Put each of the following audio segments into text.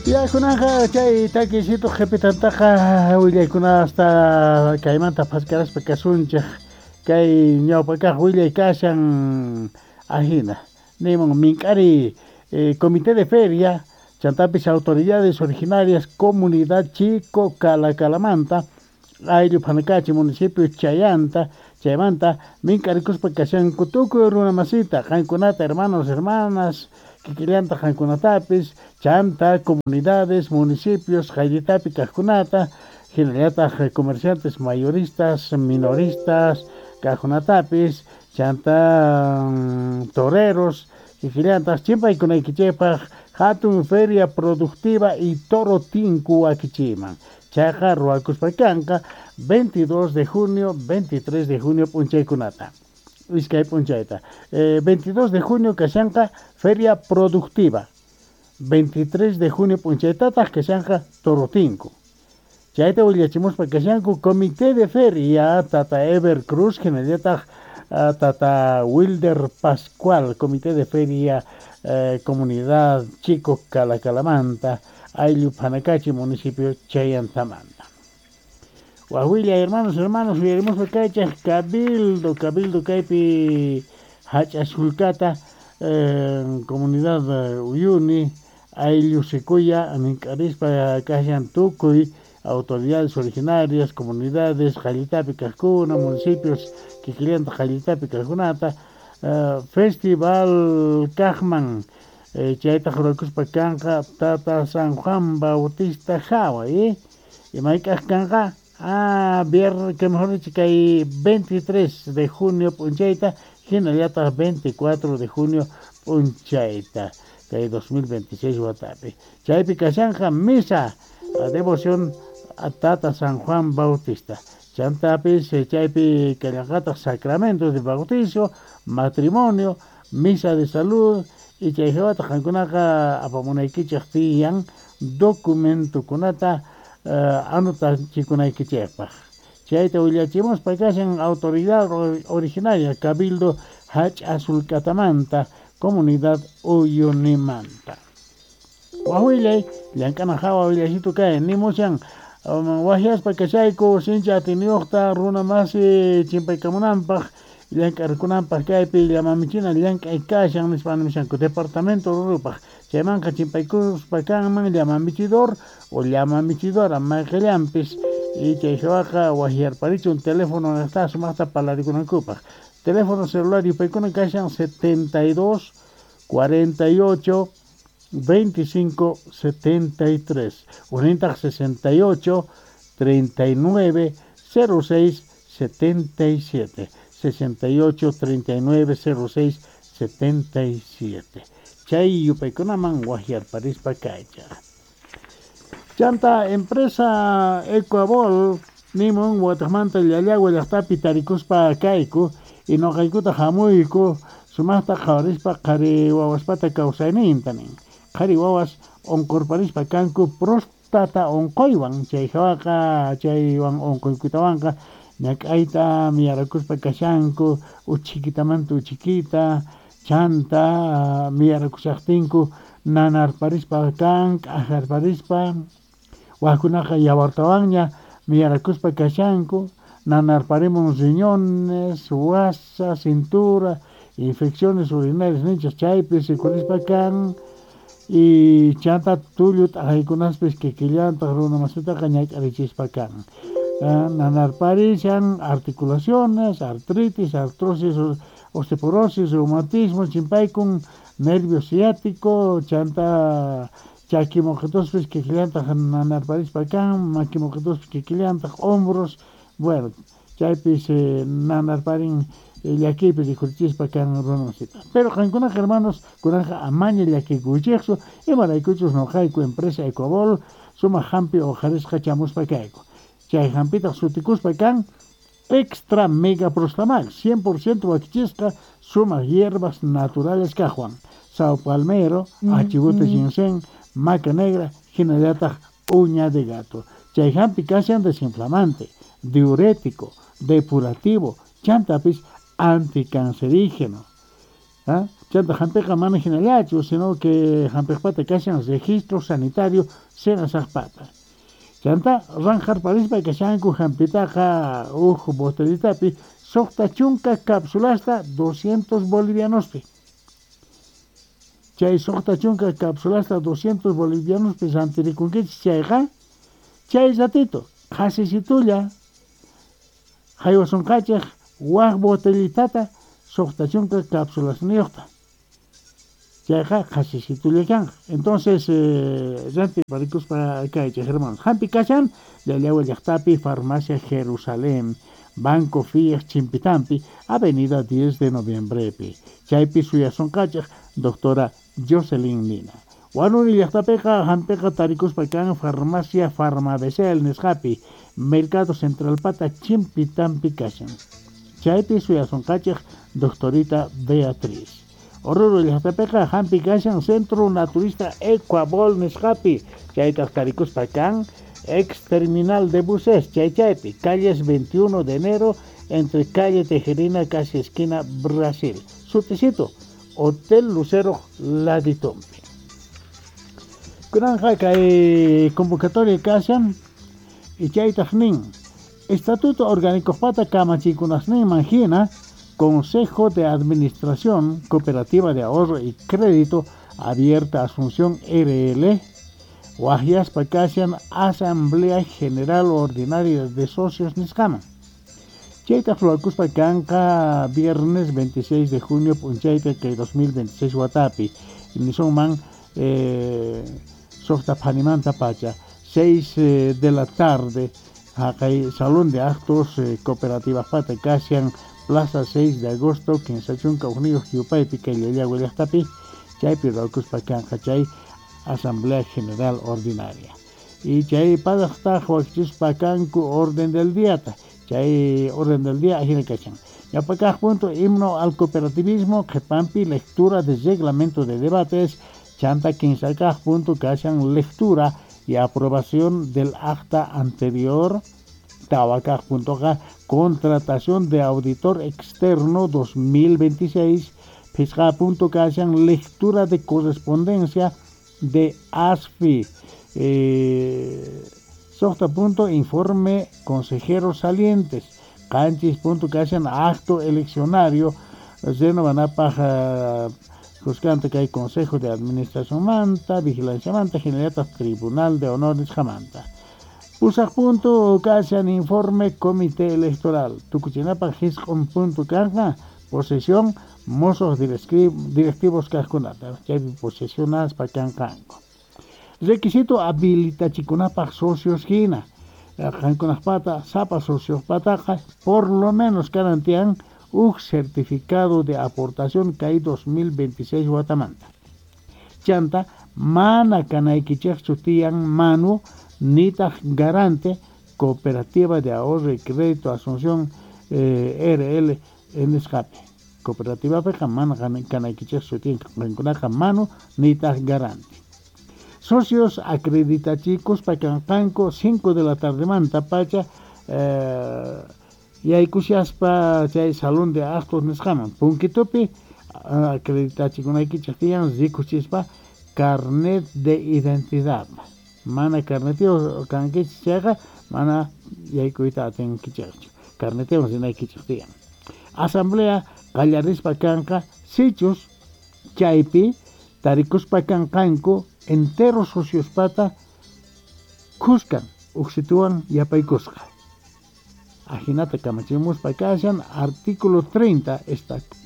Ya kunanqa chay takiysitu qhipitantaqa willaykunasta kaymanta phaskaraspa kasunchik kay ñawpa kaq willay kashan ajina nimun mink'ari comité de feria chantapis autoridades originarias comunidad Chico Calacalamanta ayllu Phanakachi municipio Chayanta chaymanta mink'arikuspa kashanku tukuy runa masita qankunata hermanos hermanas kikillanta qankunatapis chanta comunidades municipios qayllitapi kaqkunata hinallataq comerciantes mayoristas minoristas kaqkunatapis chanta toreros kikillantaq chimpaykunaykichikpaq hatun feria productiva y toro tinku wakichiyman chayqa ruwakuspa kanqa 22 de junio 23 de junio p'unchaykunata iskay p'unchayta 22 de junio kashanqa feria productiva 23 de junio p'unchaytataq kashanqa toro tinku chayta willachimuspa kashanku comité de feria tata Ever Cruz hinallataq tata Wilder Pascual comité de feria comunidad Chico Calacalamanta ayllu Phanakachi municipio Chayantamanta. Wawilla hermanos hermanos uyarimuspa kaychaq cabildo cabildo kaypi hach'asulkata comunidad Uyuni ayllu Secuya mink'arispa kashan tukuy autoridades originarias comunidades qayllitapi kaqkuna municipios kikillanta qayllitapi kaqkunata festival kaqman chaytaq ruwakuspa kanqa tata San Juan Bautista hawa imayk'aq kanqa viernes que mejor dicho kay 23 de junio p'unchayta hinallataq 24 de junio p'unchayta kay 2026 watapi chaypi kashanqa misa devoción a tata San Juan Bautista chantapis chaypi kallanqataq sacramento de bautizo matrimonio misa de salud y chay hawataq qankunaqa apamunaykichik tiyan documentokunata anotachikunaykichikpaq chayta willachimuspa kashan autoridad originaria cabildo hach'asulkatamanta comunidad Uyunimanta wawillay llank'ana hawa willaysitu kay nimushan waqyaspa kashayku sinchi atiniyuqta runa masi chimpaykamunanpaq llank'arkunanpaq kaypi llamamichina llank'ay kashan nispa nimushanku departamento rurupaq chaymanqa chimpaykuspa kanman llamamichidor o llamamichidora mayqillanpis y chay hawaqa waqyarparichun teléfono niqta sumaqta parlarikunankupaq teléfono celular yupaykuna kashan 72 48 25 73 unintaq 68 39 06 77 68 39 06 77 chay yupaykunaman waqyarparispa kaychaq chanta empresa Ecuabol nimun wataqmanta Llallagua llaqtapi tarikuspa kayku y nuqaykuta hamuyku sumaqta qhawarispa qhari wawaspata kawsayninta nin qhari wawas unqurparispa kanku próstata unquywan chay hawaqa chaywan unquykutawanqa ñak'ayta miyarakuspa kashanku uchhikitamanta uchhikita chanta miyarakushaqtinku nanarparispa kan k'ajarparispa waqkunaqa yawartawanña miyarakuspa kashanku nanarparimun riñones wasa cintura infecciones urinarias ninchik chaypi rikurispa kan y chanta tullu t'aqaykunaspis kikillantaq runa masitaqa ñak'arichispa kan nanarparishan articulaciones artritis artrosis osteoporosis reumatismo chimpaykun nervio ciático chanta chaki moqetospis kikillantaq nanarparispa kan maki moqetospis kikillantaq hombros bueno chaypis nanarparin llakiypi rikhurichispa kan runa masita pero qankunaqa hermanos kunanqa amaña llakikuychikchu imaraykuchus nuqayku empresa Ecuabol sumaq hampi uqharisqa chamuspa kayku chay hampitaq sutikuspa kan extra mega prostamax 100% wakichisqa sumaq hierbas naturales kaqwan sao palmero achibote ginseng maca negra hinallataq uña de gato chay hampi kashan desinflamante diurético depurativo chantapis anticancerígeno. Chanta hampiqa mana hinallachu, sino que hampiqpata kashan registro sanitario SENASAJpata. Chanta ranjarparispa kashanku hampitaqa uj botellitapi 60 cápsulasta 200 bolivianospi. Chay 60 cápsulasta 200 bolivianospi rantirikunkichis chayqa, chay ratito qhasisitulla haywasunqachej waj botellitata 60 cápsulasniyuqta. Chayqa qhasisitulla kanqa. Entonces, rantiparikuspa kaychej hermanos. Hampi kashan Llallawa llaqtapi Farmacia Jerusalén, Banco Fiat Chimpitampi, Avenida 10 de Noviembrepi. Chaypi suyasunqachej doctora Jocelyn Nina. Wanuri llaqtapiqa hampiqa tarikuspa kan Farmacia Farmabecel nisqapi, Mercado Central pata Chimpitampi kashan. Chaypi suyasunqachej doctorita Beatriz. Oruro llaqtapiqa hampi kashan Centro Naturista Ecuabol nisqapi, chaytaq tarikuspa kan ex terminal de buses chaychaypi, calles 21 de enero entre calle Tejerina casi esquina Brasil. Suticito, Hotel Lucero Laditompi. Kunanja kay convocatoria kashan y chaytaq nin Estatuto Orgánico pata kamachikunasninman hina Consejo de Administración Cooperativa de Ahorro y Crédito Abierta Asunción RL wajyaspa kashan Asamblea General Ordinaria de Socios nisqaman. Chaytaq ruwakuspa kanqa viernes 26 de junio p'unchayta kay 2026 watapi. Nisunman suqta phanimanta pacha 6 de la tarde haqay Salón de Actos Cooperativa pata kashan Plaza 6 de agosto 31 yupaypi kay Llallagua llaqtapi chaypi ruwakuspa kanqa chay Asamblea General Ordinaria. Y chay padaqtaq wakichispa kanku orden del día ta. Chay orden del día ajina kachan. Ñawpakaq punto himno al cooperativismo, qhipampi lectura de reglamento de debates, chanta kinsakaq punto kashan lectura y aprobación del acta anterior. Tawakaq puntoqa contratación de auditor externo 2026, Pisqa punto kashan lectura de correspondencia de ASFI. Sojta punto informe consejeros salientes. Canchis punto kashan acto eleccionario. Renovanapaj juzgante que hay consejo de administración manta, vigilancia manta, generata tribunal de honores jamanta. Pusaj punto kashan informe comité electoral. Tukuchinapaj hisq'un punto kanja posesión mozos directivos kajkunata. Chaypi posesionaspa kanqanku. Requisito habilitachikunapaj socios hina. Qankunajpata sapa sociospataqa por lo menos karantian uj certificado de aportación kay 2026 watamanta. Chanta mana kanaykichejchu tiyan manu nitaq garante Cooperativa de Ahorro y Crédito Asunción RL nisqapi. Cooperativa mana kanaykichejchu tiyan qankunaqa manu nitaq garante. Socios acreditachikuspa kanqanku 5 de la tardemanta pacha yaykushaspa chay salón de actos nisqaman punkitupi acreditachikunaykichej tiyan rikuchispa carnet de identidad. Mana carnetiyuq kankichis chayqa mana yaykuyta atinkichejchu. Carnetiyuq rinaykichej tiyan. Asamblea qallarispa kanqa sichus chaypi tarikuspa kanqanku entero sociospata khuskan uqsituwan yapaykusqa. Ajinata kamachimuspa kashan artículo 30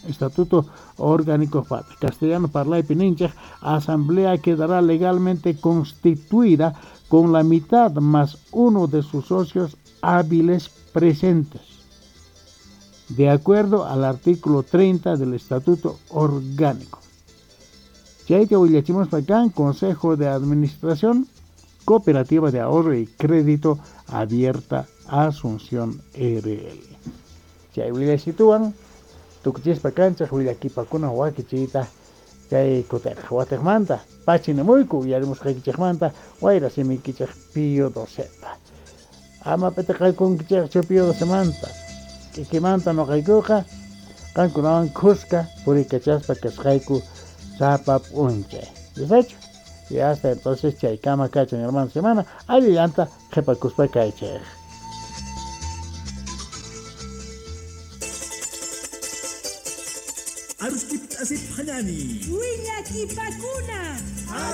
Estatuto Orgánico pata. Castellano parlaypi ninchej asamblea quedará legalmente constituida con la mitad más uno de sus socios hábiles presentes, de acuerdo al artículo 30 del Estatuto Orgánico. Chayta willachimuspa kan Consejo de Administración Cooperativa de Ahorro y Crédito Abierta Asunción RL. Chay willachituwan tukuchispa kanchaj willakipakuna wakichiyta chay kutej watejmanta pachinamuyku uyarimusqaykichejmanta wayra simiykichej Pío Docepa. Ama p'itiqaykunkichejchu Pío Docemanta. K'ikimanta noqaykuqa Qankunawan khuska purikachaspa kasqayku sapa p'unchay. Yachaychu? Y hasta entonces chaykama kachan hermano semana allillanta qhipakuspa kaychej. Aruskip asip hañani. Willakipakuna.